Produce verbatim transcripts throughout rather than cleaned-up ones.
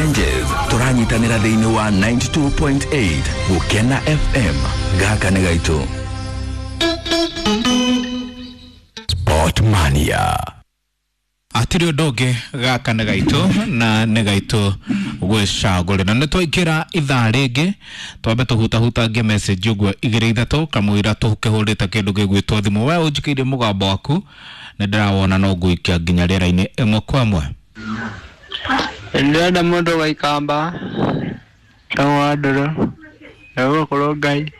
Challenges tũranyitanĩra thĩinĩ wa ninety-two point eight Gũkena F M. Gaka nĩ gaitũ. Sportmania. Atiri ũndũ ũngĩ gaka nĩ gaitũ na nĩ gaitũ gwĩcagũrĩra. Nĩ twaingĩra ithaa rĩngĩ, twambe tũhutahutangie message ũguo igĩrĩ ithatũ kamũira tũkĩhũrĩte kĩndũ gĩgwĩtwo thimũ. We ũnjikĩire mũgambo waku nĩ ndĩrawona no ngũikia nginya rĩera-inĩ ĩmwe kwa ĩmwe. Ndĩrenda mũndũ wa Ikamba etagwo Andũrũ, egũkorwo Ngai.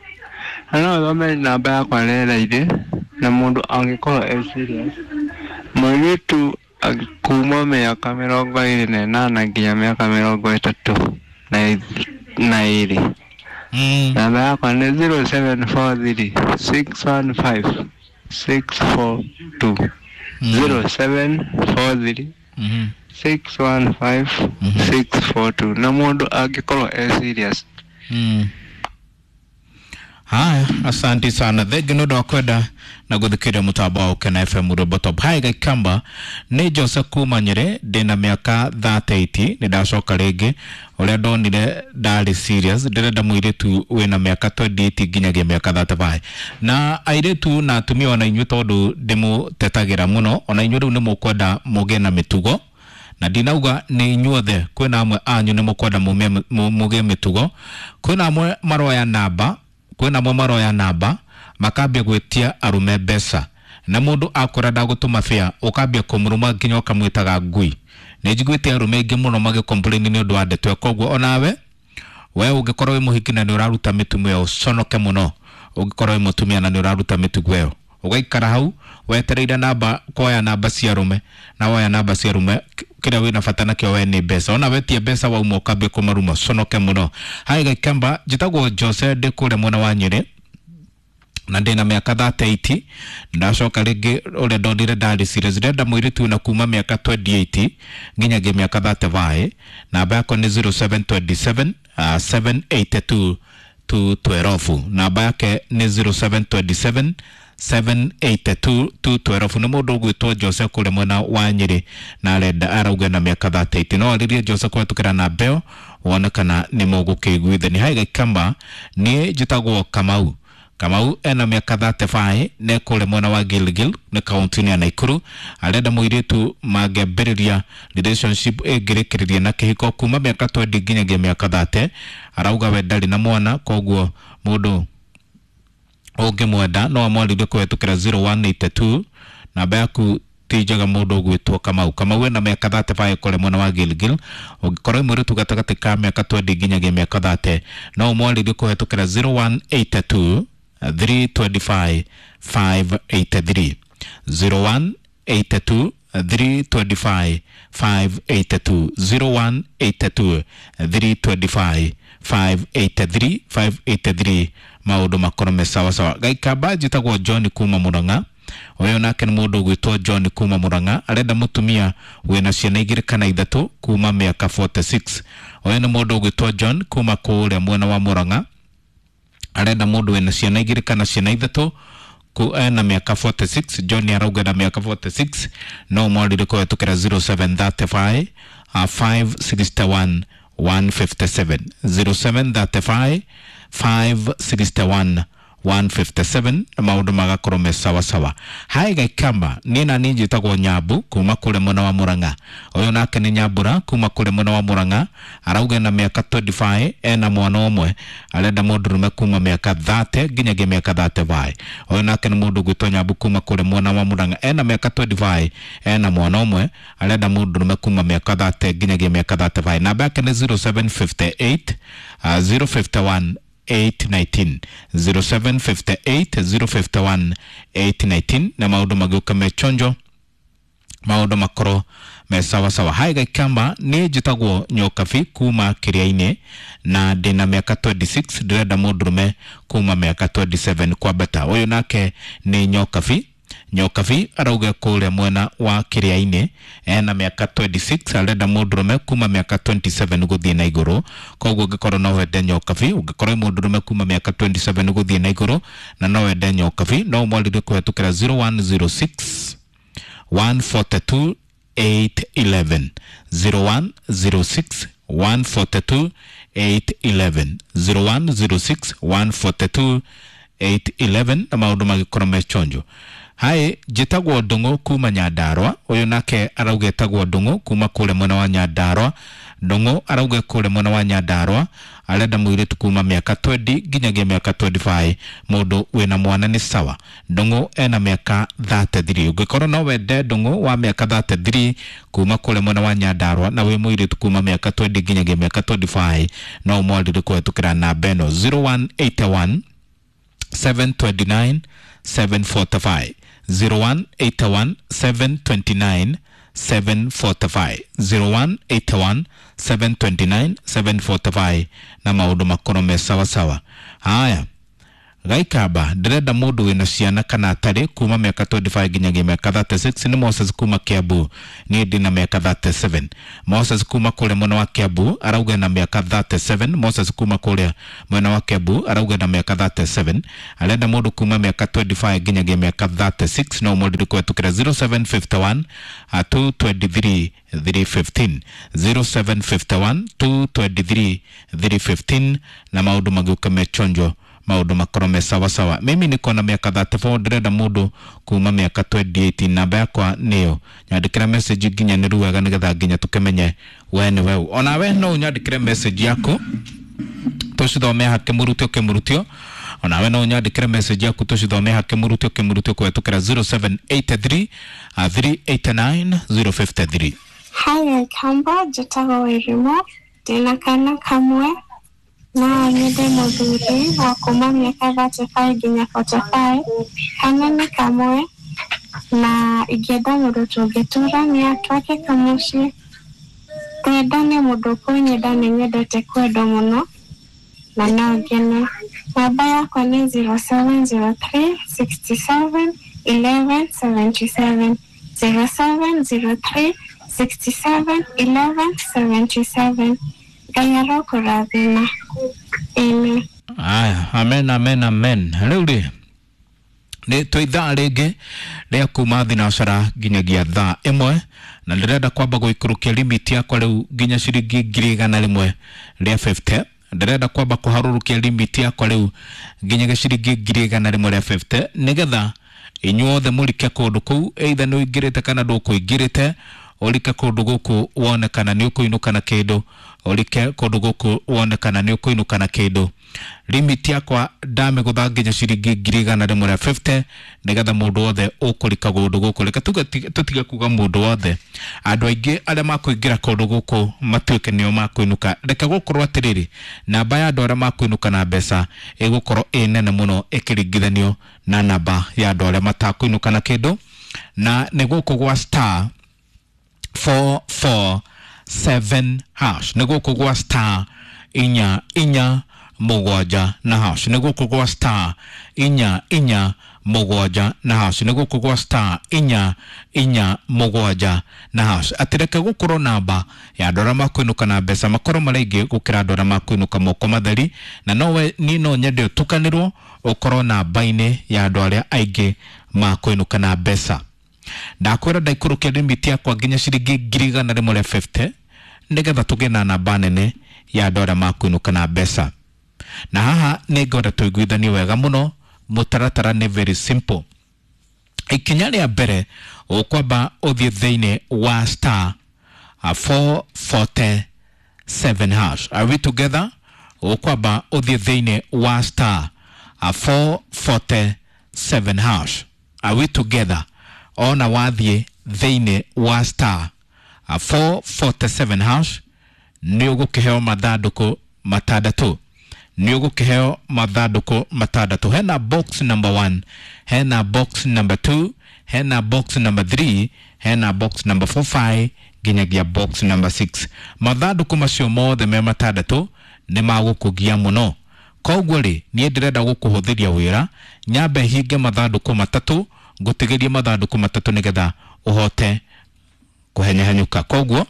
Na no ũthome namba yakwa rĩera-inĩ, na mũndũ angĩkorwo e serious. Mũirĩtu kuma mĩaka mĩrongo ĩrĩ na ĩnana nginya mĩaka mĩrongo ĩtatũ na ĩrĩ. Namba yakwa nĩ zero seven four three six one five six four two. Zero seven four three six one five six four two. Na mũndũ angĩkorwo e serious. Haya, asante sana. Thengi nĩ ũndũ wa kwenda na gũthikĩrĩria mũtambo wa Gũkena F M Rwĩmbo Top. Hai Gaikamba, nĩ Joseph kuma Nyĩrĩ, ndĩna mĩaka thirty-eight, nĩ ndacoka rĩngĩ. Ũrĩa ndonire ndarĩ serious, ndĩrenda mũirĩtu wĩna mĩaka twenty-eight nginyagia mĩaka thirty-five. Na airĩtu na atumia ona inyuĩ tondũ ndĩmũtetagĩra mũno, ona inyuĩ rĩu nĩ mũkwenda mũgĩe na mĩtugo. Na ndinauga nĩ inyuothe, kwĩna amwe anyu nĩ mũkwenda mũgĩe mĩtugo, kwĩna amwe maroya namba, kwĩna amwe maroya namba makambia gwĩtia arũme mbeca, na mũndũ akora ndagũtũma bĩa ũkambia kũmũrũma nginya ũkamwĩtaga ngui. Nĩ njiguĩte arũme aingĩ mũno magĩcomplain nĩ ũndũ wa ndeto ĩyo. Koguo onawe we ũngĩkorwo wĩ mũhiki na nĩ ũraruta mĩtugo ĩyo, ũconoke mũno. Ũngĩkorwo wĩ mũtumia na nĩ ũraruta mĩtugo ĩyo, ũgaikara hau wetereire namba, kuoya namba cia arũme, na woya namba cia arũme kĩrĩa wĩna bata nakĩo we nĩ mbeca. Ona wetia mbeca wauma ũkambia kũmaruma, ũconoke mũno. Hai Gaikamba, njĩtagwo Jose, ndĩ kũrĩa mwena wa Nyĩrĩ na ndĩna mĩaka thirty-eight. Ndacoka rĩngĩ ũrĩa ndonire ndarĩ serious, ndĩrenda mũirĩtu na kuma mĩaka twenty-eight nginyagia mĩaka thirty-five. Namba yakwa nĩ zero seven twenty-seven, uh, seven eighty-two, two twelve. Namba yake nĩ zero seven twenty-seven, seven eighty-two, two twelve. Nĩ mũndũ ũgwĩtwo Jose kũrĩa mwena wa Nyĩrĩ na arenda arauga na mĩaka thirty-eight. No arĩrie Jose kũhetũkĩra namba ĩyo wone kana nĩ mũgũkĩiguithania. Hai Gaikamba, niĩ njĩtagwo Kamau. Kamau ena mĩaka thirty-five, nĩ kũrĩa mwena wa Gilgil, nĩ kaunti-inĩ ya Nakuru. Arenda mũirĩtu mangĩambĩrĩria relationship ĩngĩrĩkĩrĩria na kĩhiko kuma mĩaka twenty nginyagia mĩaka thirty. Arauga we ndarĩ na mwana, koguo mũndũ ũngĩmwenda no amwarĩrie kũhetũkĩra zero one eight two. Namba yaku ti njega mũndũ ũgwĩtwo Kamau. Kamau ena mĩaka thirty-five kũrĩa mwena wa Gilgil. Ũngĩkorwo wĩ mũirĩtu gatagatĩ ka mĩaka twenty nginyagia mĩaka thirty, no ũmwarĩrie kũhetũkĩra zero one eight two, three twenty-five, five eighty-three. Zero one eight two, three twenty-five, five eighty-two. Zero one eight two, three twenty-five, five eighty-three, five eighty-three. Maũndũ makorwo me sawa sawa. Gaikamba, njĩtagwo John kuma Murang'a. Ũyũ nake nĩ mũndũ ũgwĩtwo John kuma Murang'a, arenda mũtumia wĩna ciana igĩrĩ kana ithatũ kuma mĩaka forty-six. Ũyũ nĩ mũndũ ũgwĩtwo John kuma kũrĩa mwena wa Murang'a, arenda mũndũ wĩna ciana igĩrĩ kana ciana ithatũ ku ena mĩaka forty-six. John arauga na mĩaka forty-six, no mwarire kũhetũkĩra zero seven thirty-five, uh, five sixty-one, one fifty-seven. Zero seven thirty-five, five sixty-one, one fifty-seven. Maũndũ magakorwo me sawa sawa. Hai Gaikamba, niĩ na niĩ njĩtagwo Nyambu kuma kũrĩa mwena wa Murang'a. Ũyũ nake nĩ Nyambura kuma kũrĩa mwena wa Murang'a, arauga na mĩaka twenty-five, ena mwana ũmwe, arenda mũndũrũme kuma mĩaka thirty nginyagia mĩaka thirty-five. Ũyũ nake nĩ mũndũ ũgwĩtwo Nyambu kuma kũrĩa mwena wa Murang'a, ena mĩaka twenty-five, ena mwana ũmwe, arenda mũndũrũme kuma mĩaka thirty nginyagia mĩaka thirty-five. Namba yake nĩ zero seven fifty-eight, uh, zero fifty-one, eight nineteen. Zero seven fifty-eight, zero fifty-one, eight nineteen. Na maũndũ magĩũka me chonjo, maũndũ makorwo me sawa sawa. Hai Gaikamba, niĩ njĩtagwo Nyokabi kuma Kĩrĩa-inĩ na ndĩna mĩaka twenty-six, ndĩrenda mũndũrũme kuma mĩaka twenty-seven kwambata. Ũyũ nake nĩ Nyokabi. Nyokabi arauga kũrĩa mwena wa Kĩrĩa-inĩ, ena mĩaka twenty-six, arenda mũndũrũme kuma mĩaka twenty-seven gũthiĩ na igũrũ. Koguo ũngĩkorwo no wende Nyokabi, ũngĩkorwo wĩ mũndũrũme kuma mĩaka twenty-seven gũthiĩ na igũrũ na no wende Nyokabi, no ũmwarĩrie kũhetũkĩra zero one zero six, one forty-two, eight eleven. Zero one zero six, one forty-two eight eleven, zero one zero six one forty-two eight eleven, na maundu magikorwo me chonjo. Hai, njĩtagwo Ndung'u kuma Nyandarua. Ũyũ nake arauga etagwo Ndung'u kuma kũrĩa mwena wa Nyandarua. Ndung'u arauga kũrĩa mwena wa Nyandarua arenda mũirĩtu kuma mĩaka twenty nginyagia mĩaka twenty-five, mũndũ wĩna mwana nĩ sawa. Ndung'u ena mĩaka thirty-three. Ũngĩkorwo no wende Ndung'u wa mĩaka thirty-three kuma kũrĩa mwena wa Nyandarua na wĩ mũirĩtu kuma mĩaka twenty nginyagia mĩaka twenty-five, no ũmwarĩrie kũhetũkĩra namba ĩno zero one eight one seven twenty-nine seven forty-five, zero one eight one seven twenty-nine seven forty-five, zero one eight one seven twenty-nine seven forty-five, na maundu makorwo me sawa sawa. Haya, Gaikamba, ndĩrenda mũndũ wĩna ciana kana atarĩ kuma mĩaka twenty-five nginyagia mĩaka thirty-six. Nĩ Moses kuma Kiambu. Niĩ ndĩna mĩaka thirty-seven. Moses kuma kũrĩa mwena wa Kiambu arauga na mĩaka thirty-seven. Moses kuma kũrĩa mwena wa Kiambu arauga na mĩaka thirty-seven. Arenda mũndũ kuma mĩaka twenty-five nginyagia mĩaka thirty-six. No mũndũ kũhetũkĩra zero seven fifty-one, uh, two twenty-three three fifteen, zero seven fifty-one two twenty-three three fifteen, na maũndũ magĩũka me chonjo, maundu makorwo me sawa sawa. Mimi niko na miaka thirty-four, ndĩrenda mũndũ kuma miaka twenty-eight. Namba yakwa nĩyo nyandĩkĩra message nginya nĩ wega nĩgetha nginya tũkĩmenye we nĩ we. Ona we no ũnyandĩkĩre message yaku tũcithome hake mũrutio kĩmũrutio. Ona we no ũnyandĩkĩre message yaku tũcithome hake mũrutio kĩmũrutio kũhetũkĩra zero seven eight three, three eight nine zero five three. Hi, Kamba, njĩtagwo Wairimu, ndĩna kana kamwe na nyende mũthuri wa kuma mĩaka thirty-five nginya forty-five. Kana nĩ kamwe na ingĩenda mũndũ tũngĩtũrania twake kamũciĩ. Twendane mũndũ ũkũnyenda, nĩ nyendete kwendwo mũno na no ngene. Namba yakwa nĩ zero seven zero three sixty-seven eleven seventy-seven, zero seven zero three sixty-seven eleven seventy-seven. Ngai arokũrathima. Amen. Aya, amen, amen, amen. Rĩu rĩ nĩ twĩ ithaa rĩngĩ rĩa kuma thinacara nginyagia thaa ĩmwe, na ndĩrenda kwamba gũikũrũkia limit yakwa rĩu nginya ciringi ngiri igana rĩmwe rĩa fifty. Ndĩrenda kwamba kũharũrũkia limit yakwa rĩu nginyagia ciringi ngiri igana rĩmwe rĩa fifty, nĩgetha inyuothe mũrike kũndũ kũu, either nĩ ũingĩrĩte kana ndũkũingĩrĩte, ũrike kũndũ gũkũ wone kana nĩ ũkũinũka na kĩndũ, ũrike kũndũ gũkũ wone kana nĩ ũkũinũka na kĩndũ. Limit yakwa ndamĩgũtha nginya ciringi ngiri igana rĩmwe rĩa fifty, nĩgetha mũndũ wothe ũkũrika kũndũ gũkũ. Reke tũtige kuga mũndũ wothe, andũ aingĩ arĩa makũingĩra kũndũ gũkũ matuĩke nĩo makũinũka. Reke gũkorwo atĩrĩrĩ, namba ya andũ arĩa makũinũka na mbeca ĩgũkorwo ĩ nene mũno ĩkĩringithanio na namba ya andũ arĩa matakũinũka na kĩndũ. Na nĩ gũkũ gwa star four four seven hash, nĩ gũkũ gwa star inya inya mũgwanja na hash, nĩ gũkũ gwa star inya inya mũgwanja na hash, nĩ gũkũ gwa star inya inya mũgwanja na hash. Atĩ reke gũkorwo namba ya andũ arĩa makũinũka na mbeca makorwo marĩ aingĩ gũkĩra andũ arĩa makũinũka moko matheri, na nowe niĩ no nyende ũtukanĩrwo ũkorwo namba-inĩ ya andũ arĩa aingĩ makũinũka na mbeca. Ndakwĩra ndaikũrũkia limit yakwa nginya ciringi ngiri igana rĩmwe rĩa fifty, nĩgetha tũgĩe na namba nene ya andũ arĩa makũinũka na mbeca. Na haha nĩ ngwenda tũiguithanie wega mũno, mũtaratara nĩ very simple. Ikinya rĩa mbere ũkwamba ũthiĩ thĩinĩ wa star four forty-seven hash. Are we together? Ũkwamba ũthiĩ thĩinĩ wa star four forty-seven hash. Are we together? Ona wathiĩ thĩinĩ wa star four forty-seven hash nĩ ũgũkĩheo mathandũkũ matandatũ. Nĩ ũgũkĩheo mathandũkũ matandatũ. Hena box number one, hena box number two, hena box number three, hena box number four five nginyagia box number six. Mathandũkũ macio mothe me matandatũ nĩ magũkũgia mũno. Koguo rĩ, niĩ ndĩrenda gũkũhũthĩria wĩra, nyambe hinge mathandũkũ matatũ, ngũtigĩrie mathandũkũ matatũ nĩgetha ũhote kũhenyahenyũka. Koguo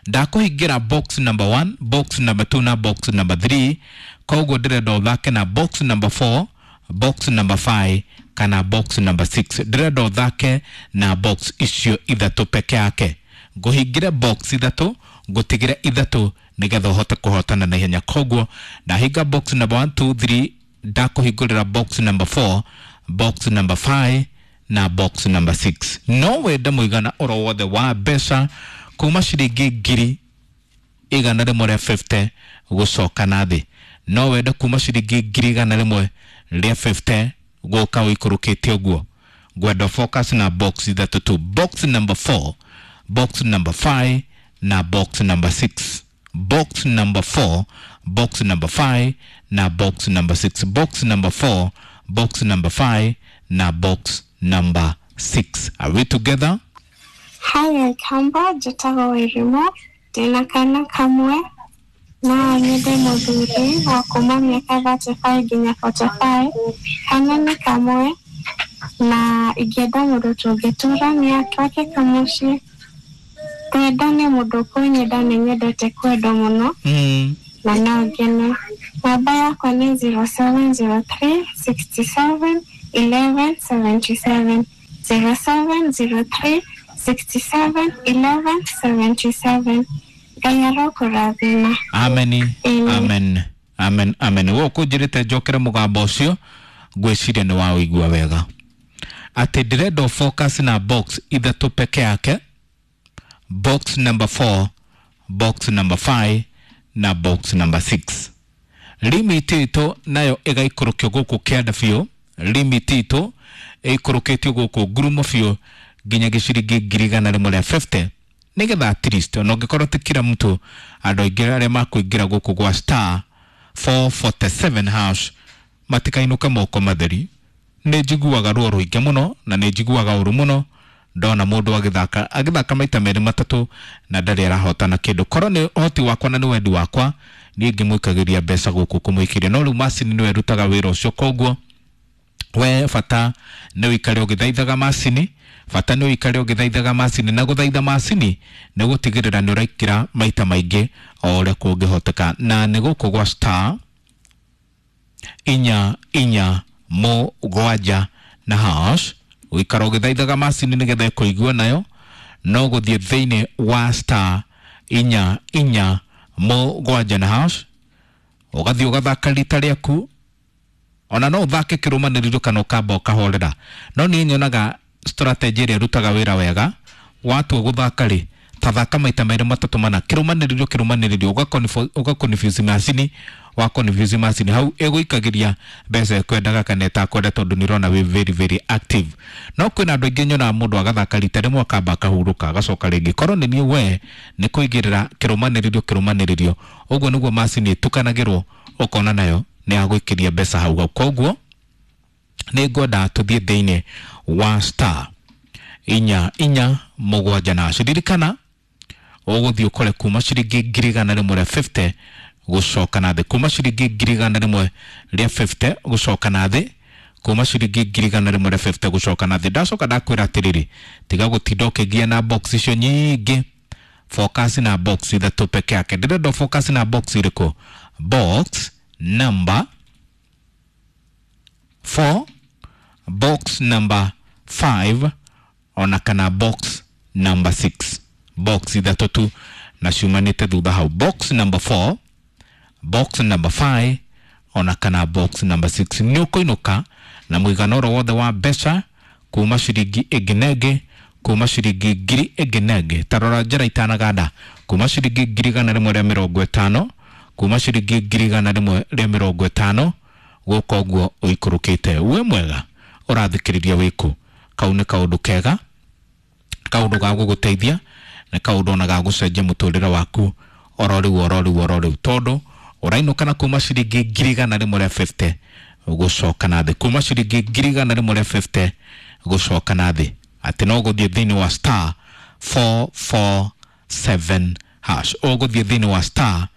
ndakũhingĩra box number one, box number two na box number three. Koguo ndĩrenda ũthake na box number four, box number five kana box number six. Ndĩrenda ũthake na box icio ithatũ peke yake. Ngũhingĩre box ithatũ, Ngũtigĩre ithatũ nĩgetha ũhote kũhotana na ihenya. Koguo ndahinga box number one two three, ndakũhingũrĩra box number four, box number five na box number six. No wende mũigana oro wothe wa mbeca kuma ciringi ngiri igana rĩmwe rĩa fifty gũcoka na thĩ. No wende kuma ciringi ngiri igana rĩmwe rĩa fifty gũka ũikũrũkĩte ũguo. Ngwenda focus na box ithatũ tu, box number four, box number five na box number six. Box number four, box number five na box number six. Box number four, box number five na box number six. Are we together? Hi Kamba, njĩtagwo Wairimu, ndĩna kana kamwe no nyende mũthuri wa kuma mĩaka thirty five nginya forty five. Kana nĩ kamwe na ingĩenda mũndũ tũngĩtũrania twake kamũciĩ. Twendane, mũndũ ũkũnyenda, nĩ nyendete kwendwo mũno Mm. na no ngene. Namba yakwa nĩ zero seven zero three sixty seven eleven seventy seven, zero seven zero three sixty seven eleven seventy seven. Ngai arokũrathima. Amen. Amen. Amen. Amen. Amen. We ũkũnjĩrĩte njokere mũgambo ũcio, ngwĩciria nĩ waũigua wega atĩ ndĩrenda focus na box ithatũ peke yake, box number four, box number five na box number six. Limit itũ nayo ĩgaikũrũkio gũkũ kĩanda biũ. Limit itũ ĩikũrũkĩtio gũkũ ngurumo biũ nginya gĩciringi ngiri igana rĩmwe rĩa fifty, nĩgetha at least ona ũngĩkorwo ti kila mtu, andũ aingĩ arĩa makũingĩra gũkũ gwa star four forty seven hash matikainũke moko matheri. Nĩ njiguaga ruo rũingĩ mũno na nĩ njiguaga ũru mũno ndona mũndũ agĩthaka agĩthaka maita merĩ matatũ na ndarĩ arahotana kĩndũ. Korwo nĩ ũhoti wakwa na nĩ wendi wakwa, niĩ ngĩmũikagĩria mbeca gũkũ kũmũikĩria, no rĩu macini nĩwe ĩrutaga wĩra ũcio. Koguo we bata nĩ ũikare ũgĩthaithaga macini, bata nĩ ũikare ũgĩthaithaga macini, na gũthaitha macini nĩ gũtigĩrĩra nĩ ũraikĩra maita maingĩ o ũrĩa kũngĩhoteka. Na nĩ gũkũ gwa star inya inya mũgwanja na hash, ũikara ũgĩthaithaga macini nĩgetha ĩkũigua nayo, no gũthiĩ thĩinĩ wa star inya inya mũgwanja na hash, ũgathiĩ ũgathaka rita rĩaku. Ona no ũthake kĩrũmanĩrĩrio kana ũkamba ũkahorera, no niĩ nyonaga strategy ĩrĩa ĩrutaga wĩra wega watua gũthaka rĩ, tathaka maita merĩ matatũ mana kĩrũmanĩrĩrio kĩrũmanĩrĩrio, ũga confuse macini, wa confuse macini hau ĩgũikagĩria mbeca ĩkwendaga kana ĩtakwenda, tondũ nĩ ũrona wĩ very very active. No kwĩna andũ aingĩ nyonaga mũndũ agathaka rita rĩmwe akamba akahurũka agacoka rĩngĩ. Korwo nĩ niĩ we nĩ kũigĩrĩra kĩrũmanĩrĩrio kĩrũmanĩrĩrio, ũguo nĩguo macini ĩtukanagĩrwo, ũkona nayo nĩ yagũikĩria mbeca hau hau. Koguo nĩ ngwenda tũthiĩ thĩinĩ wa star inya inya mũgwanja na ririkana ũgũthiĩ ũkore kuma ciringi ngiri igana rĩmwe rĩa fifty gũcoka na thĩ, kuma ciringi ngiri igana rĩmwe rĩa fifty gũcoka na thĩ, kuma ciringi ngiri igana rĩmwe rĩa fifty gũcoka na thĩ. Ndacoka ndakwĩra atĩrĩrĩ, tiga gũtinda ũkĩgia na box icio nyingĩ, focus na box ithatũ peke yake. Ndĩrenda focus na box irĩkũ? Box number four, box number five ona kana box number six. Box ithatũ tu na ciumanĩte thutha hau, box number four, box number five ona kana box number six. Nĩ ũkũinũka na mũigana oro wothe wa mbeca kuma ciringi ĩngĩ na ĩngĩ, kuma ciringi ngiri ĩngĩ na ĩngĩ. Ta rora njĩra itanaganda, kuma ciringi ngiri igana rĩmwe rĩa mĩrongo ĩtano, kuma ciringi ngiri igana rĩmwe rĩa mĩrongo ĩtano gũka ũguo ũikũrũkĩte. Wĩ mwega ũrathikĩrĩria wĩkũ? Kau nĩ kaũndũ kega, kaũndũ ga gũgũteithia na kaũndũ ona ga gũcenjia mũtũrĩre waku oro rĩu oro rĩu oro rĩu, tondũ ũrainũka na kuma ciringi ngiri igana rĩmwe rĩa fifty gũcoka na thĩ, kuma ciringi ngiri igana rĩmwe rĩa fifty gũcoka na thĩ, atĩ no gũthiĩ thĩinĩ wa star four four seven hash, ũgũthiĩ thĩinĩ wa star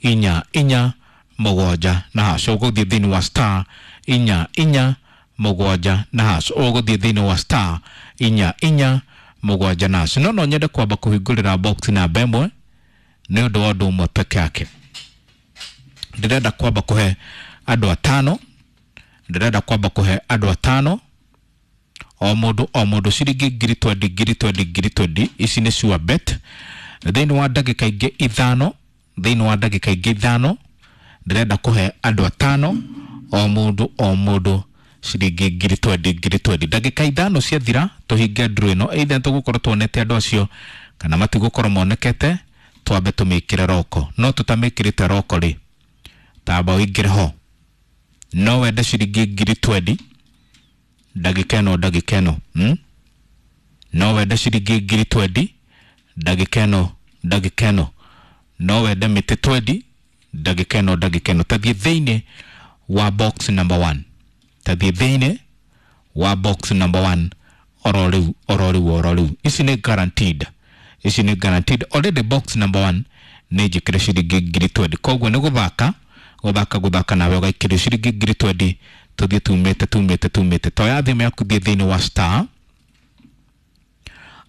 inya inya mũgwanja na hash, ũgũthiĩ thĩinĩ wa star inya inya mũgwanja na hash, ũgũthiĩ thĩinĩ wa star inya inya mũgwanja na hash. No no nyende kwamba kũhingũrĩra box namba ĩmwe nĩ ũndũ wa ũndũ ũmwe peke yake. Ndĩrenda kwamba kũhe andũ atano, ndĩrenda kwamba kũhe andũ atano, o mũndũ o mũndũ ciringi ngiri twendi ngiri twendi ngiri twendi. Ici nĩ sure bet. Thĩinĩ wa ndagĩka ingĩ ithano, thĩinĩ wa ndagĩka ingĩ ithano ndĩrenda kũhe andũ atano, o mũndũ o mũndũ ciringi ngiri twendi ngiri twendi. Ndagĩka ithano ciathira tũhinge nduru ĩno, either tũgũkorwo tuonete andũ acio kana matigũkorwo monekete, twambe tũmĩkĩre roko. No tũtamĩkĩrĩte roko rĩ, tamba ũingĩre ho. No wende ciringi ngiri twendi ndagĩka ĩno ndagĩka ĩno, hmm? No wende ciringi ngiri twendi ndagĩka ĩno ndagĩka ĩno. No wende mĩtĩ twendi ndagĩka ĩno ndagĩka ĩno. Tathiĩ thĩinĩ wa box number one, tathiĩ thĩinĩ wa box number one oro rĩu oro rĩu oro rĩu. Ici nĩ guaranteed, ici nĩ guaranteed already. Box number one nĩ njĩkĩre ciringi ngiri twendi, koguo nĩ gũthaka gũthaka gũthaka nawe ũgaikĩrio ciringi ngiri twendi. Tũthiĩ tumĩte tumĩte tumĩte. Toya thimũ yaku, thiĩ thĩinĩ wa star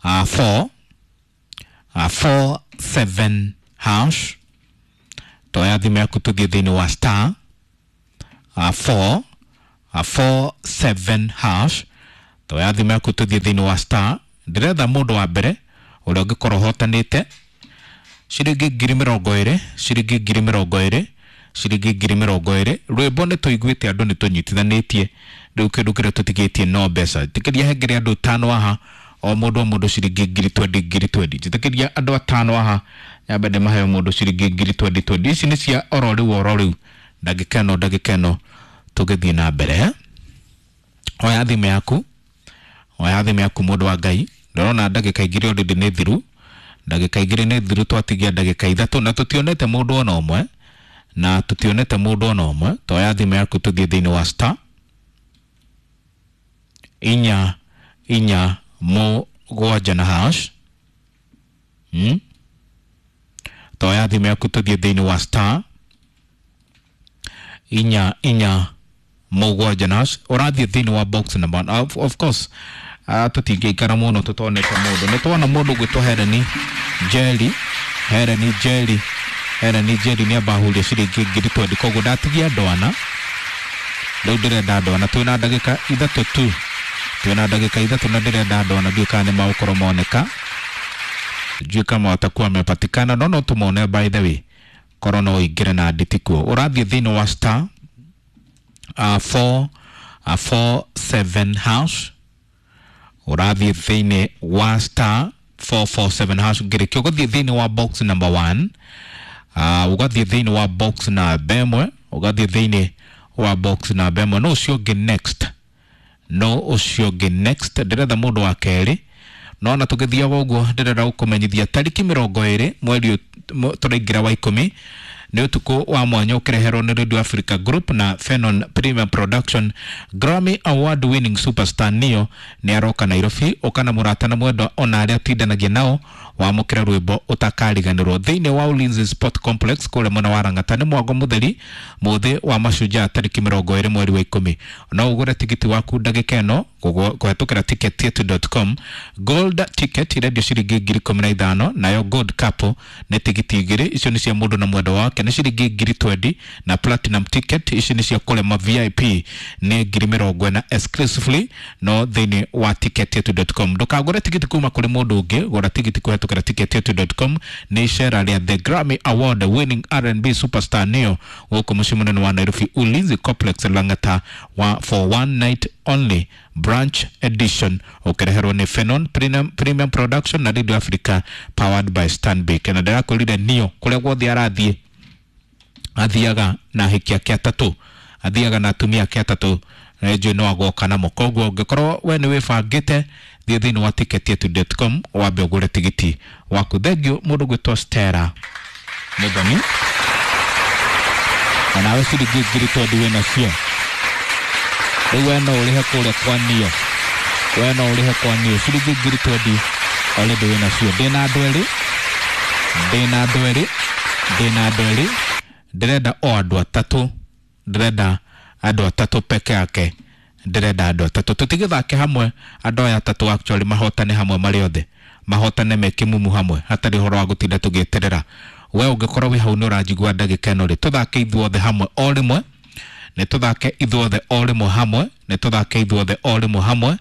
uh, four uh, four seven hash. Toya thimũ yaku tũthiĩ thĩinĩ wa star uh, four uh, four seven hash. Toya thimũ yaku tũthiĩ thĩinĩ wa star. Ndĩretha mũndũ wa mbere ũrĩa ũngĩkorwo ũhotanĩte ciringi ngiri mĩrongo ĩrĩ, ciringi ngiri mĩrongo ĩrĩ, ciringi ngiri mĩrongo ĩrĩ. Rwĩmbo nĩ tũiguĩte, andũ nĩ tũnyitithanĩtie, rĩu kĩndũ kĩrĩa tũtigĩtie no mbeca. Jĩtĩkĩria hengere andũ atano haha, o mũndũ o mũndũ ciringi ngiri twendi ngiri twendi. Jĩtĩkĩria andũ atano haha, nyambe ndĩmahe o mũndũ ciringi ngiri twendi twendi. Ici nĩ cia oro rĩu oro rĩu, ndagĩka ĩno ndagĩka ĩno tũgĩthiĩ na mbere. Oya thimũ yaku, oya thimũ yaku mũndũ wa Ngai. Ndĩrona ndagĩka igĩrĩ already nĩ thiru, ndagĩka igĩrĩ nĩ thiru, twatigia ndagĩka ithatũ na tũtionete mũndũ ona ũmwe, na tũtionete mũndũ ona ũmwe. Toya thimũ yaku tũthiĩ thĩinĩ wa star inya inya mũgwanja na hash, hmm? Toya thimũ yaku tũthiĩ thĩinĩ wa star inya inya mũgwanja na hash. Ũrathiĩ thĩinĩ wa box number one. Of, of course uh, tũtingĩikara mũno tũtonete mũndũ. Nĩ tuona mũndũ gwĩtwo Hereni Njeri, Hereni Njeri, Hereni Njeri nĩ amba ahuria ciringi ngiri twendi, koguo ndatigia andũ ana. Rĩu ndĩrenda andũ ana, twĩna ndagĩka ithatũ tu, twĩna ndagĩka ithatũ na ndĩrenda andũ ana. Ndiũĩ kana nĩ magũkorwo moneka, sijui kama watakuwa wamepatikana, no no tumone. By the way, korwo no ũingĩre na nditikuo. Ũrathiĩ thĩinĩ wa star uh, four uh, four seven hash. Ũrathiĩ thĩinĩ wa star four four seven hash, ngĩrĩkia ũgathiĩ thĩinĩ wa box number one, uh, ũgathiĩ thĩinĩ wa box namba ĩmwe, ũgathiĩ thĩinĩ wa box namba ĩmwe. No ũcio ũngĩ next, no ũcio ũngĩ next. Ndĩretha mũndũ wa kerĩ, no na tũgĩthiaga ũguo ndĩrenda gũkũmenyithia tarĩki mĩrongo ĩrĩ mweri tũraingĩra wa ikũmi nĩ ũtukũ wa mwanya ũkĩreherwo nĩ Radio Africa Group na Fenon Premium Production. Grammy Award winning superstar Neo nĩ aroka Nairobi. Ũka na mũrata na mwendwa ona arĩa ũtindanagia nao, wamũkĩre rwĩmbo ũtakariganĩrwo thĩinĩ wa Ulinzi Sport Complex kũrĩa mwena wa Lang'ata. Nĩ mwango mũtheri mũthĩ wa mashujaa tarĩki mĩrongo ĩrĩ mweri wa ikũmi. No ũgũre tigiti waku ndagĩka ĩno kũhetũkĩra ticketyetu dot com. Gold ticket irendio ciringi ngiri ikũmi na ithano, nayo gold couple nĩ tigiti igĩrĩ, icio nĩ cia mũndũ na mwendwa wake, nĩ ciringi ngiri twendi, na platinum ticket, ici nĩ cia kũrema V I P, nĩ ngiri mĩrongo ĩna exclusively no thĩinĩ wa ticketyetu dot com. Ndũkagũre tigiti kuma kũrĩ mũndũ ũngĩ, gũra tigiti kũhetũkĩra ticketyetu dot com. Nĩ icera rĩa the Grammy Award winning R and B superstar Neo gũkũ mũciĩ mũnene wa Nairobi, Ulinzi Complex Lang'ata, wa for one night only branch edition, ũkĩreherwo nĩ Fenon Premium, Premium Production na Radio Africa, powered by Stanbic. Na ndĩrakwĩrire Neo kũrĩa guothe arathiĩ athiaga na ahiki ake atatũ, athiaga na atumia ake atatũ, na njũĩ no agoka namo. Koguo ũngĩkorwo we nĩ wĩbangĩte, thiĩ thĩinĩ wa ticketyetu dot com wambe ũgũre tigiti waku. Thengiũ mũndũ gwĩtwo Stella Mũthoni, na nawe ciringi ngiri twendi wĩ nacio rĩu. We no ũrĩhe kũrĩa kwa Neo, we no ũrĩhe kwa Neo ciringi ngiri twendi already wĩ nacio. Ndĩna andũ erĩ, ndĩna andũ erĩ, ndĩna andũ erĩ. Ndĩrenda o andũ atatũ, ndĩrenda andũ atatũ peke yake, ndĩrenda andũ atatũ. Tũtigĩthake hamwe, andũ aya atatũ actually mahotane hamwe, marĩ othe mahotane me kĩmumu hamwe, hatarĩ ũhoro wa gũtinda tũgĩeterera. We ũngĩkorwo wĩ hau nĩ ũranjigua ndagĩka ĩno rĩ, tũthake ithuothe hamwe o rĩmwe, nĩ tũthake ithuothe o rĩmwe hamwe, nĩ tũthake ithuothe o rĩmwe hamwe.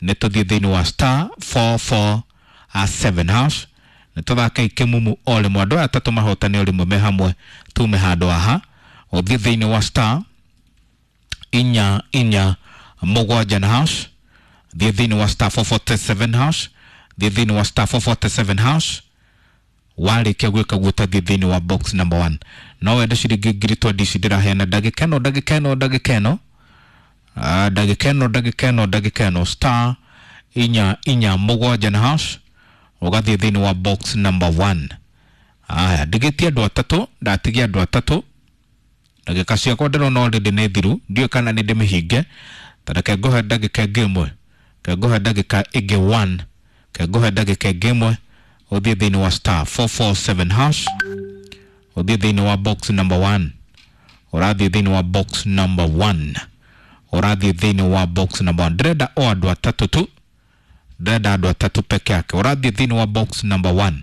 Nĩ tũthiĩ thĩinĩ wa star four four seven hash. Nĩ tũthake ikimumu o rĩmwe, andũ aya atatũ mahotane o rĩmwe me hamwe, tume handũ haha. Ũthiĩ thĩinĩ wa star inya inya mũgwanja na hash, thiĩ thĩinĩ wa star four forty seven hash, thiĩ thĩinĩ wa star four forty seven hash. Warĩkia gwĩka guo tathiĩ thĩinĩ wa box number one. No wende ciringi ngiri twendi ici ndĩraheana ndagĩka ĩno, ndagĩka ĩno, ndagĩka ĩno, Ah, ndagĩka ĩno, ndagĩka ĩno, ndagĩka ĩno. Star inya inya mũgwanja na hash, ũgathiĩ thĩinĩ wa box number one. Aya, ndigĩtie andũ atatũ, ndatigia andũ atatũ. Ndagĩka ciakwa ndĩrona already nĩ thiru, ndiũĩ kana nĩ ndĩmĩhinge. Ta reke ngũhe ndagĩka ĩngĩ ĩmwe, reke ngũhe ndagĩka ĩngĩ one, reke ngũhe ndagĩka ĩngĩ ĩmwe. Ũthiĩ thĩinĩ wa star four four seven hash, ũthiĩ thĩinĩ wa box number one, ũrathiĩ thĩinĩ wa box number one, ũrathiĩ thĩinĩ wa box number one. Ndĩrenda o andũ atatũ tu, ndĩrenda andũ atatũ peke yake. Ũrathiĩ thĩinĩ wa box number one,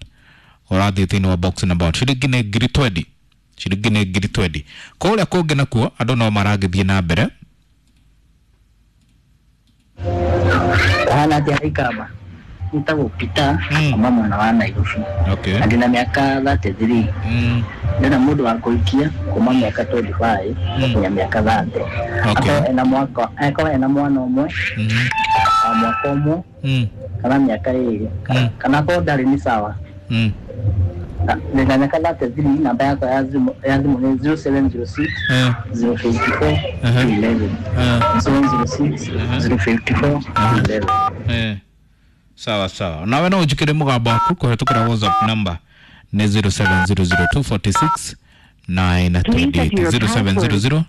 ũrathiĩ thĩinĩ wa box number one. Ciringi nĩ ngiri twendi, ciringi nĩ ngiri twendi. Kũrĩa kũngĩ nakuo andũ no maragĩthiĩ na mbere. Hana atia Ikamba, nitagwo Peter Mm. kuma mwena wa Nairobi Okay. na ndina miaka thirty three. Mm. Ndĩna mũndũ wa kũhikia kuma miaka twenty five nginya miaka thirty. Okay. Akorwo ena mwaka, akorwo ena mwana ũmwe Mm. wa mwaka ũmwe Mm. kana miaka ĩrĩ, Mm. kana akorwo ndarĩ nĩ sawa. Mm. Na- ndĩna miaka thirty three, namba yakwa ya thimũ ya thimũ nĩ zero seven zero six Eh. zero fifty four Uh-huh. eleven Eh. seven zero six zero fifty four eleven. Eh. Sawa sawa, nawe no ũnjĩkĩre mũgambo waku kũhetũkĩra WhatsApp number nĩ zero seven zero zero two forty six nine twenty eight, zero seven zero zero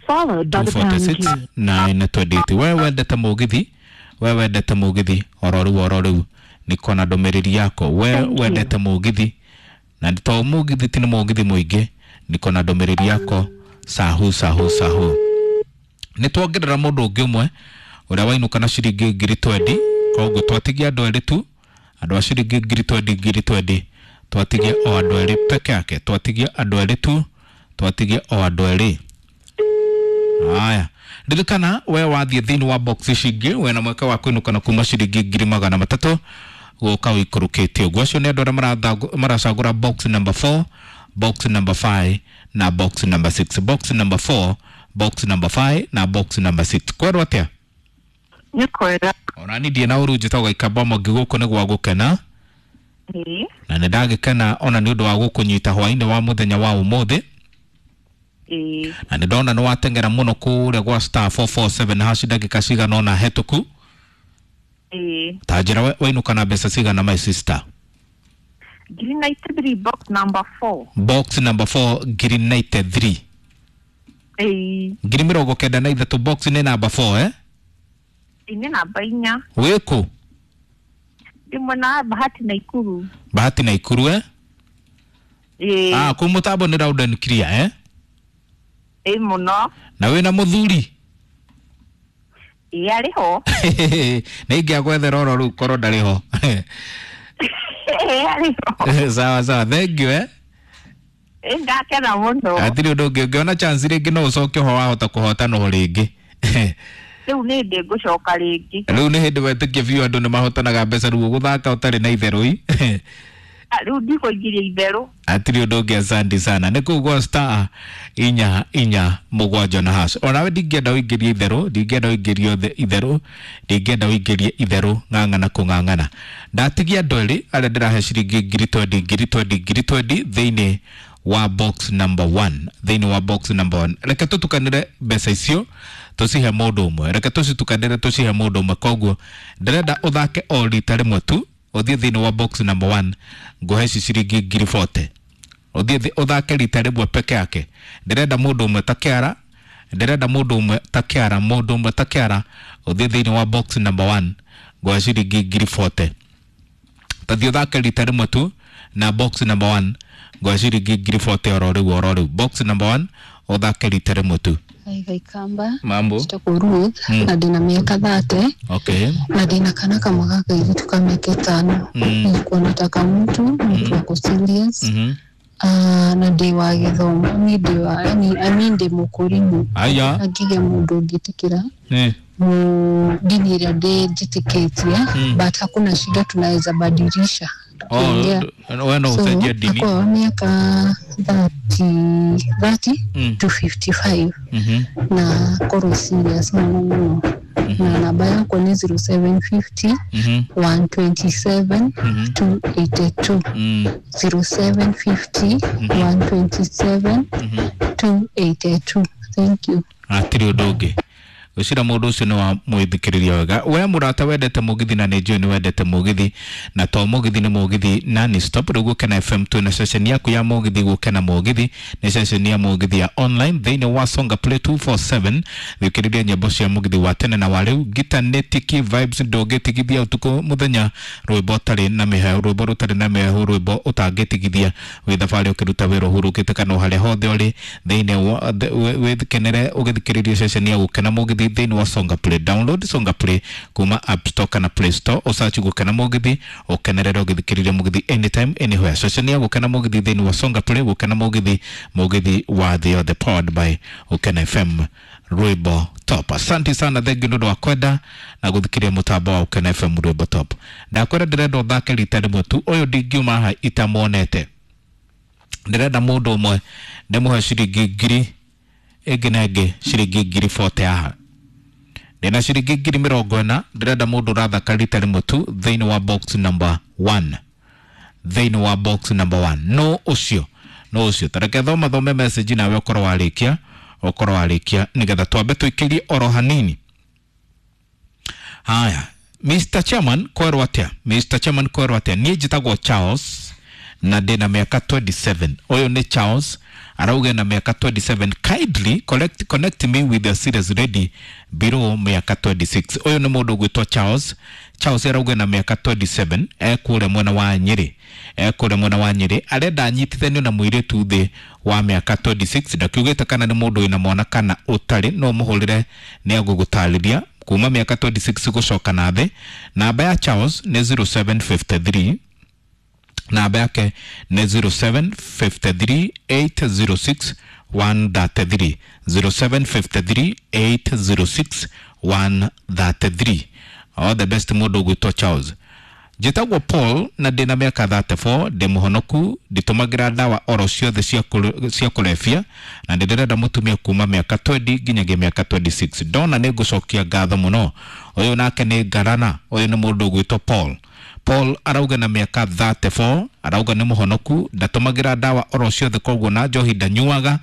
two forty six nine twenty eight. We wendete mũgithi, we wendete mũgithi oro rĩu oro rĩu nĩkona ndũmĩrĩri yako. We wendete mũgithi na to mũgithi ti nĩ mũgithi mũingĩ, nĩkona ndũmĩrĩri yako. Sahu sahu sahu, nĩ tuongerera mũndũ ũngĩ ũmwe ũrĩa wainũka na ciringi ngiri twendi. Koguo twatigia andũ erĩ tu, andũ a ciringi ngiri twendi ngiri twendi, twatigia o andũ erĩ peke yake, twatigia andũ erĩ tu, twatigia o andũ erĩ. Haya, ririkana we wathiĩ thĩinĩ wa box ici ingĩ wĩna mweke wa kũinũka na kuma ciringi ngiri magana matatũ gũka ũikũrũkĩtie ũguo. Acio nĩ andũ arĩa marathagu- maracagũra box number four, box number five na box number six. Box number four, box number five na box number six. Kwerwo atĩa? Nĩ kwega. Ona ni ndiĩ na ũru, njĩtagwo Gaikamba Mwangi, gũkũ nĩ gwa gũkena. Ĩĩ. Na nĩ ndagĩkena ona nĩ ũndũ wa gũkũnyita hwainĩ wa mũthenya wa ũmũthĩ. Ĩĩ. Na nĩ ndona nĩ wateng'era mũno kũrĩa gwa star four four seven hash ndagĩka cigana ũna hetũku. Ĩĩ. Ta njĩra we- wainũka na mbeca cigana, my sister? Ngiri ninety three, box number four. Box number four, ngiri ninety three. Ĩĩ. Ngiri mĩrongo kenda na ithatũ, box nĩ number four, eh? Ĩĩ, nĩ namba inya. Wĩkũ? Ndĩ mwena wa Bahati Naikuru. Bahati Naikuru, eh? Ĩĩ. Ah, kũu mũtambo nĩ loud and clear, eh? Ĩĩ mũno. Na wĩna mũthuri? Ĩĩ, arĩ ho. Nĩ ingĩagwethera oro rĩu korwo ndarĩ ho. Ĩĩ, arĩ ho. Sawa sawa, thank you, eh? Ĩĩ, ndakena mũno. Hatirĩ ũndũ ũngĩ, ũngĩona chance rĩngĩ no ũcoke ho, wahota kũhotana o rĩngĩ. Rĩu nĩ ndĩ ngũcoka rĩngĩ. Rĩu nĩ hĩndĩ wetĩkie biũ andũ nĩ mahotanaga mbeca, rĩu ũgũthaka ũtarĩ na itherũ i. Ah, rĩu ndikũingĩria itherũ. Hatirĩ ũndũ ũngĩ, asante sana. Nĩ kũu gwa star inya inya mũgwanja na hash. Onawe ndingĩenda ũingĩrie itherũ, ndingĩenda ũingĩrie othe itherũ, ndingĩenda ũingĩrie itherũ, ng'ang'ana kũng'ang'ana. Ndatigia andũ erĩ arĩa ndĩrahe ciringi ngiri twendi ngiri twendi ngiri twendi thĩinĩ wa box number one, thĩinĩ wa box number one. Reke tũtukanĩre mbeca icio tũcihe mũndũ ũmwe, reke tũcitukanĩre tũcihe mũndũ ũmwe. Koguo ndĩrenda ũthake o rita rĩmwe tu, ũthiĩ thĩinĩ wa box number one, ngũhe ici ciringi ngiri forty. Ũthiĩ thĩ- ũthake rita rĩmwe peke yake. Ndĩrenda mũndũ ũmwe ta kĩara, ndĩrenda mũndũ ũmwe ta kĩara, mũndũ ũmwe ta kĩara, ũthiĩ thĩinĩ wa box number one, ngũhe ciringi ngiri forty. Tathiĩ ũthake rita rĩmwe tu na box number one, ngũhe ciringi ngiri forty oro rĩu oro rĩu. Box number one, ũthake rita rĩmwe tu. Hi Gaikamba, Mambo. njĩtagwo Ruth Mm. na ndĩna mĩaka thate Okay. na ndĩna kana kamwe ga kairĩtu ka mĩaka ĩtano. Mm. Nilikuwa nataka mtu mtu ako serious. Mhm. Ah, na ndĩ wa gĩthomo, niĩ ndĩ wa yani, I mean ndĩ mũkũrimũ. Aya. Angĩgĩa mũndũ ũngĩtĩkĩra Eh. mu- dini ĩrĩa ndĩ njĩtĩkĩtie, Mm. but hakuna shida, tunaweza badilisha. tukiongea. Oh, we no So ũcenjie ndini. akwa wa mĩaka thirty thirty Mm. to fifty-five Mhm. na korwo serious mũno mũno, na namba yakwa nĩ zero seven fifty Mhm. one twenty-seven Mhm. two eighty-two Mm. zero seven fifty one twenty-seven Mhm. two eighty-two. Thank you. Hatirĩ ũndũ ũngĩ, gwĩcira mũndũ ũcio nĩ wa mwĩthikĩrĩria wega. We mũrata wendete mũgithi, na nĩ njũĩ nĩ wendete mũgithi, na to mũgithi nĩ mũgithi nani stop. Rĩu Gũkena F M twĩna ceceni yaku ya mũgithi. Gũkena Mũgithi nĩ ceceni ya mũgithi ya online thĩinĩ wa Songa Play two four seven. Thikĩrĩria nyĩmbo cia mũgithi wa tene na wa rĩu. Ngita nĩ tiki vibes, ndũngĩtigithia ũtukũ mũthenya, rwĩmbo ũtarĩ na mĩhehu, rwĩmbo rũtarĩ na mĩhehu, rwĩmbo ũtangĩtigithia wĩ thabarĩ, ũkĩruta wĩra, ũhurũkĩte, kana o harĩa hothe ũrĩ thĩinĩ wa thĩ- wĩ- wĩkenere ũgĩthikĩrĩria ceceni ya Gũkena Mũgithi thĩinĩ wa Songa Play. Download Songa Play kuma App Store kana Play Store, ũsearch Gũkena Mũgithi, ũkenerere ũgĩthikĩrĩria mũgithi anytime, anywhere. Ceceni ya Gũkena Mũgithi thĩinĩ wa Songa Play. Gũkena Mũgithi, mũgithi wa thĩ yothe, powered by Gũkena F M, rwĩmbo top. Asante sana, thengi nĩ ũndũ wa kwenda na gũthikĩrĩria mũtambo wa Gũkena F M, rwĩmbo top. Ndakwĩra ndĩrenda ũthake rita rĩmwe tu. Ũyũ ndingiuma haha itamuonete. Ndĩrenda mũndũ ũmwe ndĩmũhe ciringi ngiri ĩngĩ na ĩngĩ, ciringi ngiri forty haha. Ndĩna ciringi ngiri mĩrongo ĩna. Ndĩrenda mũndũ ũrathaka rita rĩmwe tu thĩinĩ wa box number one, thĩinĩ wa box number one. No ũcio, no ũcio, tareke thoma thome message nawe ũkorwo warĩkia, ũkorwo warĩkia, nĩgetha twambe tũikĩrie oro hanini. Haya, Mister Chairman, kwerwo atĩa? Mister Chairman, kwerwo atĩa? Niĩ njĩtagwo Charles na ndĩna mĩaka twenty-seven. Ũyũ nĩ Charles, arauga na mĩaka twenty-seven. Kindly collect, connect me with the serious lady below mĩaka twenty-six. Ũyũ nĩ mũndũ ũgwĩtwo Charles. Charles arauga na mĩaka twenty-seven, ekũrĩa mwena wa Nyĩrĩ, ekũrĩa mwena wa Nyĩrĩ. Arenda anyitithanio na mũirĩtu thĩ wa mĩaka twenty-six. Ndakiugĩte kana nĩ mũndũ wĩna mwana kana ũtarĩ. No mũhũrĩre, nĩ agũgũtarĩria. Kuma mĩaka twenty-six gũcoka na thĩ. Namba ya Charles nĩ zero seven five three, namba yake nĩ zero seven five three eight zero six one three three, zero seven five three eight zero six one three three. All the best, mũndũ ũgwĩtwo Charles. Njĩtagwo Paul na ndĩna mĩaka thirty-four. Ndĩ mũhonoku, nditũmagĩra ndawa oro ciothe cia kũre- cia kũrebia, na nĩ ndĩrenda mũtumia kuma mĩaka twenty nginyagia mĩaka twenty-six. Ndona nĩ ngũcokia ngatho mũno. Ũyũ nake nĩ ngarana. Ũyũ nĩ mũndũ ũgwĩtwo Paul. Paul arauga na mĩaka thirty-four, arauga nĩ mũhonoku, ndatũmagĩra ndawa oro ciothe, koguo na njohi ndanyuaga,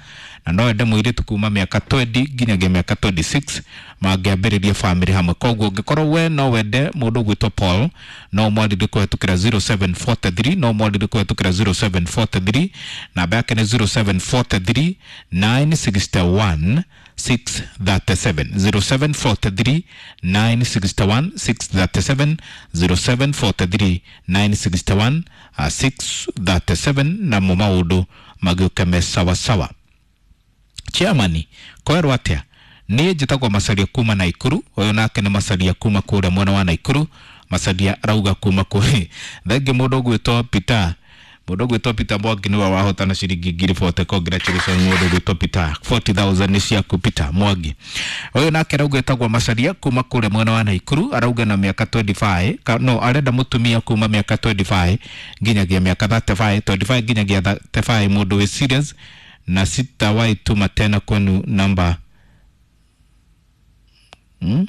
na no ende mũirĩtu kuma mĩaka twenty nginyagia mĩaka twenty-six mangĩambĩrĩria famĩlĩ hamwe. Koguo ũngĩkorwo we no wende mũndũ ũgwĩtwo Paul, no mwarĩrie kũhetũkĩra zero seven four three, no mwarĩrie kũhetũkĩra zero seven four three. Namba yake nĩ zero seven four three nine six one six three seven, zero seven four three nine six one six three seven, zero seven four three nine six one uh, six three seven, namo maũndũ magĩũke me sawasawa. Chairman, kwerwo atĩa? Niĩ njĩtagwo Macaria kuma Naikuru. Ũyũ nake nĩ Macaria kuma kũrĩa mwena wa Naikuru. Macaria arauga kuma kũrĩ thengi. Mũndũ ũgwĩtwo Peter, mũndũ ũgwĩtwo Peter Mwangi nĩwe wahotana ciringi ngiri forty. Congratulations, mũndũ ũgwĩtwo Peter, forty thousand nĩ ciaku, Peter Mwangi. Ũyũ nake arauga etagwo Macaria kuma kũrĩa mwena wa Naikuru. Arauga na mĩaka twenty-five ka, no arenda mũtumia kuma mĩaka twenty-five nginyagia mĩaka thirty-five, twenty-five nginyagia thirty-five, mũndũ wĩ serious, na sitawahi tuma tena kwenu namba hmm?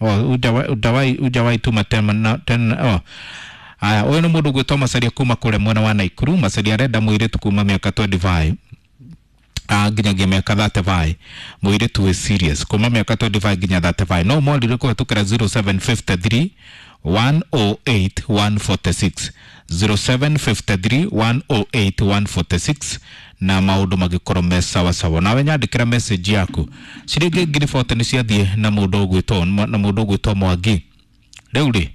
Oh, hujawahi hujawahi hujawahi tuma tena tena. Oh. Aya, ũyũ nĩ mũndũ ũgwĩtwo Macaria kuma kũrĩa mwena wa Naikuru. Macaria arenda mũirĩtu kuma mĩaka twenty-five ah, nginyagia mĩaka thirty-five, mũirĩtu wĩ serious kuma mĩaka twenty-five nginya thirty-five. No mwarire kũhetũkĩra zero seven five three one zero eight one four six, zero seven five three one zero eight one four six, na maũndũ magĩkorwo me sawa sawa. Nawe nyandĩkĩra message yaku. Ciringi ngiri forty nĩ ciathiĩ na mũndũ ũgwĩtwo na mũndũ ũgwĩtwo Mwangi. Rĩu rĩ,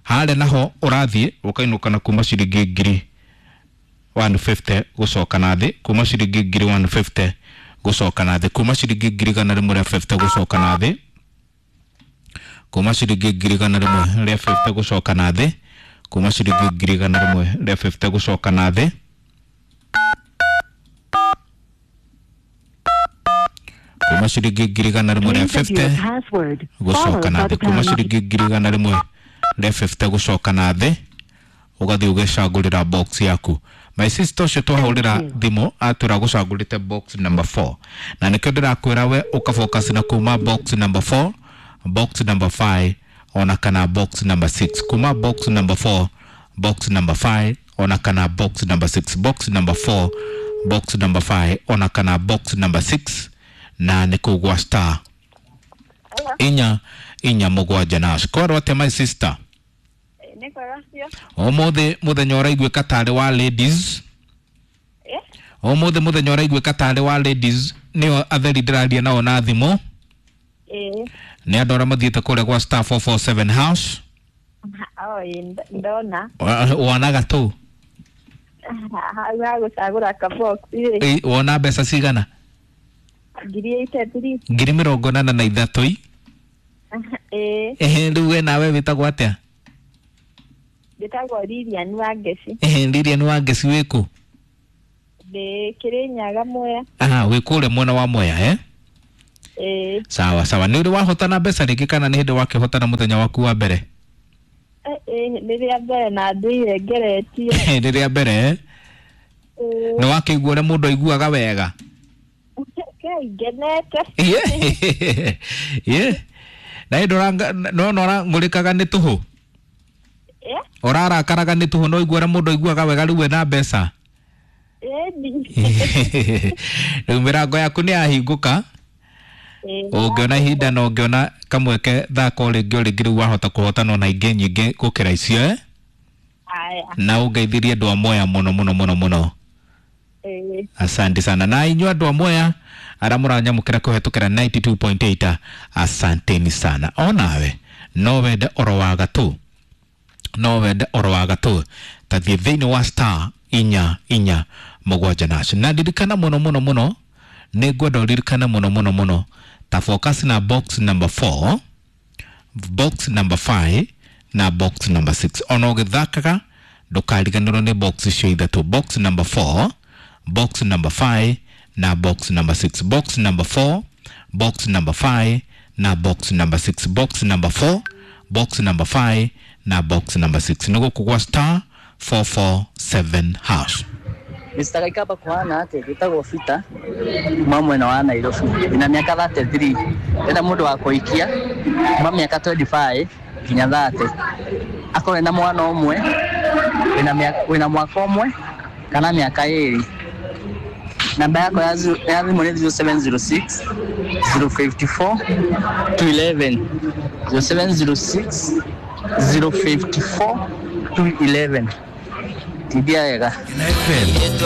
harĩa naho ũrathiĩ ũkainũka na kuma ciringi ngiri one fifty gũcoka na thĩ, kuma ciringi ngiri one fifty gũcoka na thĩ, kuma ciringi ngiri igana rĩmwe rĩa fifty gũcoka na thĩ, kuma ciringi ngiri igana rĩmwe rĩa fifty gũcoka na thĩ, kuma ciringi ngiri igana rĩmwe rĩa fifty gũcoka na thĩ, kuma ciringi ngiri igana rĩmwe rĩa fifty gũcoka na thĩ, kuma ciringi ngiri igana rĩmwe Rĩa fifty gũcoka na thĩ ũgathiĩ ũgecagũrĩra box yaku. My sister ũcio twahũrĩra thimũ atwĩra gũcagũrĩte box number four, na nĩkĩo ndĩrakwĩra we ũkafocus na kuma box number four, box number five ona kana box number six. Kuma box number four, box number five ona kana box number six. Box number four, box number five ona kana box number six, na nĩ kũu gwa star inya inya mũgwanja na kwarwo atĩa, my sister? Nĩ kwega cio. Ũmũthĩ mũthenya ũraiguĩka tarĩ wa ladies. Eh? Ũmũthĩ mũthenya ũraiguĩka tarĩ wa ladies, nĩo atheri ndĩraria nao na thimũ. Ĩĩ. Nĩ andũ arĩa mathiĩte kũrĩa gwa star four four seven house. O ĩ ndona. Wa- wonaga tũ? Hau ha gũcagũra kabox rĩ. Ĩ, wona mbeca cigana? Ngiri eighty three. Ngiri mĩrongo ĩnana na ithatũ i. Ĩĩ. Ehe, rĩu we nawe wĩtagwo atĩa? Njĩtagwo Lilian Wangeci. Ehe, Lilian Wangeci, wĩkũ? Ndĩ Kĩrĩnyaga, Mwea. Aha, wĩ kũrĩa mwena wa Mwea, eh? Ĩĩ. Sawa sawa. Nĩ ũrĩ wahotana mbeca rĩngĩ kana nĩ hĩndĩ wakĩhotana mũthenya waku wa mbere? Ĩĩ, nĩ rĩa mbere na ndũire ngeretie. Nĩ rĩa mbere, eh? Ĩĩ. Nĩ wakĩigua ũrĩa mũndũ aiguaga wega? Kai ngenete. Ĩĩ. Ĩĩ. Na hĩndĩ ũranga- nona ũrang'ũrĩkaga nĩ tũhũ? Eh? Ũrarakaraga nĩ tũhũ, no igua ũrĩa mũndũ aiguaga wega rĩu ena mbeca? Ĩni. Rĩu mĩrango yaku nĩ yahingũka. Ĩĩ. Ũngĩona ihinda na ũngĩona kamweke, thaka o rĩngĩ o rĩngĩ, rĩu wahota kũhotana ona ingĩ nyingĩ gũkĩra icio, eh? Aya. Na ũngeithirie andũ a Mwea mũno mũno mũno mũno. Ĩĩ. Asante sana. Na inyuĩ andũ a Mwea arĩa mũranyamũkĩra kũhetũkĩra ninety two point eight, asanteni sana. Onawe no wende oro wa gatũ, no wende oro wa gatũ, tathiĩ thĩinĩ wa star inya inya mũgwanja nacio, na ndirikana mũno mũno mũno, nĩ ngwenda ũririkane mũno mũno mũno, ta focus na box number four, box number five na box number six. Ona ũgĩthakaga ndũkariganĩrwo nĩ box icio ithatũ: box number four, box number five na box number six. Box number four, box number five na box number six. Box number four, box number five na box number six, nĩ gũkũ gwa star four four seven hash. Mister Kaikaba, kuhana ate? Gitagwo Peter kuma mwena wa Nairobi, ndina miaka thirty three, ndĩrenda mũndũ wa kũhikia kuma mĩaka twenty five nginya thirty, akorwo ena mwana ũmwe wĩna mĩaka- wĩna mwaka ũmwe kana mĩaka ĩrĩ. Namba yakwa ya zero- ya thimũ nĩ zero seven zero six zero fifty four two eleven, zero seven zero six zero fifty four two eleven. Tindia wega. F M.